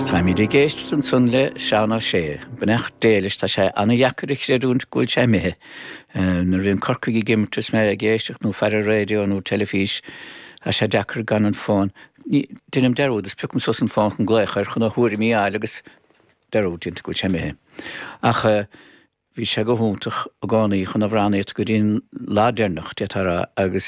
Táimid ag éisteacht ansan le Seán Ó Sé. Beannacht Dé leis, tá sé ana-dheacair a chreidiúint go bhfuil sé imithe. Nuair a bhíonn Corcaigh ag imirt is mé ag éisteacht nó ag faire raidió nó teilifís, tá sé deacair gan an fón. Deinim dearúd is piocaim suas an fón chun glaoch air chun a thuairimí a fháil agus dearúd déanta go bhfuil sé imithe. Ach bhí sé go hiontach i gcónaí chun amhránaíocht go dtí an lá deireanach, d'fhéadfá a rá, agus.